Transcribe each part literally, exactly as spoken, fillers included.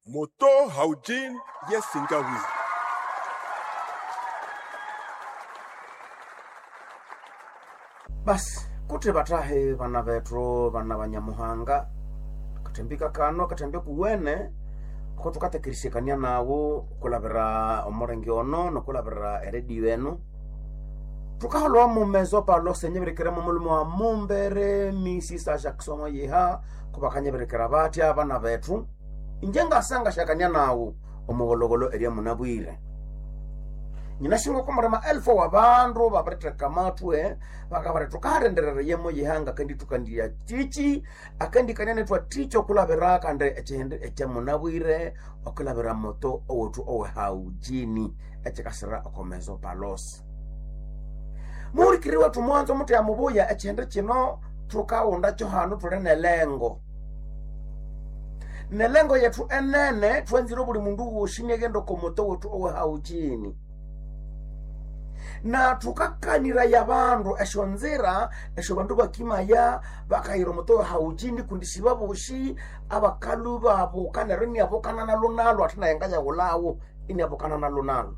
Moto Haujin Yesingawi. Basi kuti batahe bana bethu bana banyamuhanga katembika kano katembe kuwene ko tukatekerisekania nawo kulabira omulenge ono nokulabira eredio eno tukaholwa mumezo palo senyeberekeremo mulimo wa mumbere misisa Jackson yiha kubakanyeberekera batya abana bethu inje ngasanga shakania nawo omugologolo eria munabwire nyinashinga komurema elfu wa bandu babiriteka matwe bakabara tukaharenderera yemo yihanga kandi tukandiya chichi akandi kanene twa ticho kulabira kandi echihende echamunabwire okulabira moto owethu owe haujini echikasira okomezo palos muhulikiri wethu mwanzo mutu ya mubuya echihende chino tukaunda cho hanu tuli nelengo nelengo yethu enene twenzire buli mundu wosi niaghenda okomoto wethu owe haujini na tukakaniraya bandu esyo nzira esyo bandu bakimaya bakayira omuto haujini kundi sibabosi abakalu babuka neryo iniabukana nalo nalo ate naye ngayawulawo iniabukana nalo nalo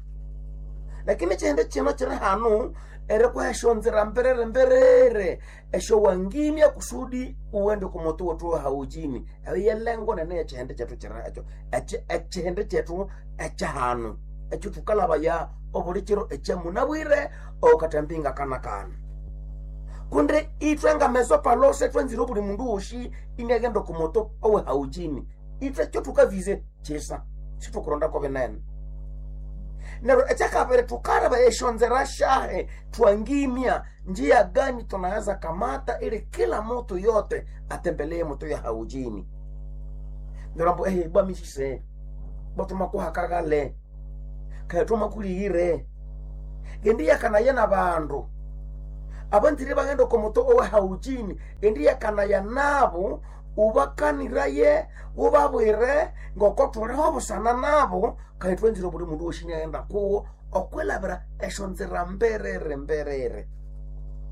lakini kyihindi kino kiri hanu erikuha esyo nzira mberere mberere esyo wangimya kusudi uwende kumutu wethu haujini eyo yelengo nene yekyihindi kyethu kiri ekyo ekyi- ekyihindi kyethu ekyahanu ekyo thukalabaya obulikiro ekyamunabwire okatambinga kana kana kundi ithwe ngameso palose twenzire obuli mundu wosi iniaghenda okumoto owe haujini ithwe kyo thukavize kyisa situkurondako binene neryo ekyakabiri thukalaba esyonzera syahe twangimya njia gani tunaweza kamata ili kila mutu yote atembelee moto ya haujini neryo ambu ehe bwamisise bwathumakuhakakale kaya thumakulihire endi yakanaya na bandu abanzire baghenda okomoto owe haujini endi yakanaya nabo ubakaniraye ubabwire ngoko thuliho busana nabo kaya twenzire buli mundu wosi niaghenda kuwo okwilabira esyo nzira mberere mberere